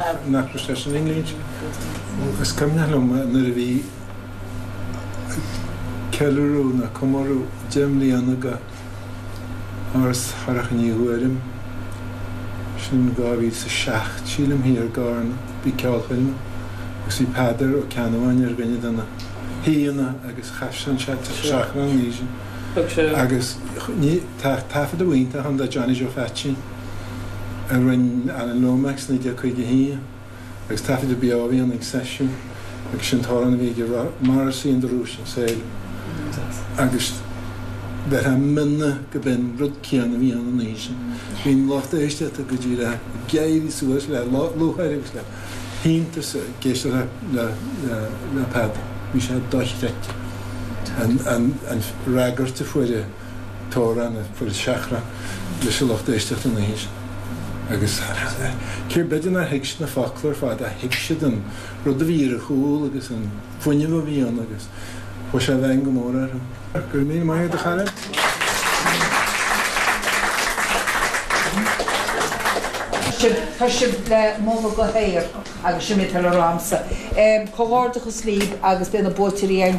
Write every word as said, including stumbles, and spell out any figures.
Nach raibh sé sin inlínte. Is cuimhneach liom nuair a bhí ceiliúradh nó comóradh deich mbliana de Áras Shorcha Ní Ghuairim, sin dhá mhíle is a seacht, sílim, thiar i gCarna, bhí ceolchoirm agus bhí Peadar Ó Ceannabháin ar dhuine de na haíonna agus chas sé an seachrán an oíche sin. Agus ní, tá taifeadadh iontach ann de Johnny Joe Pheaitsín a rinne Alan Lomax naoi déag caoga a haon agus taifeadadh beo a bhí ann ag seisiún agus sin t-amhrán a bhí aige Morrissey and the Rúis an saol agus bheifeá mionna go b'in rud céanna a bhí ann an oíche sin. Bhí an lucht éisteachta go díreach ag éirí suas le lúcháir agus le hiontas ag éisteacht le le Peadar. Bhí sé dochreidte an an an fhreagairt a fuair an t-amhrán, a fuair an seachrán leis an lucht éisteachta an oíche sin. Agus cé b'fhéidir nár thuig siad na focla ar fad ach thuig siad an rud a bhí ar a chúl agus an fuinneamh a bhí ann agus chuaigh sé i bhfeidhm go mór orthu. Go raibh míle maith agat, a chara. Tá sibh le moladh go haer agus sin é atá le rá a'msa. Comhghairdeachas libh agus beidh na buaiteoirí againn go.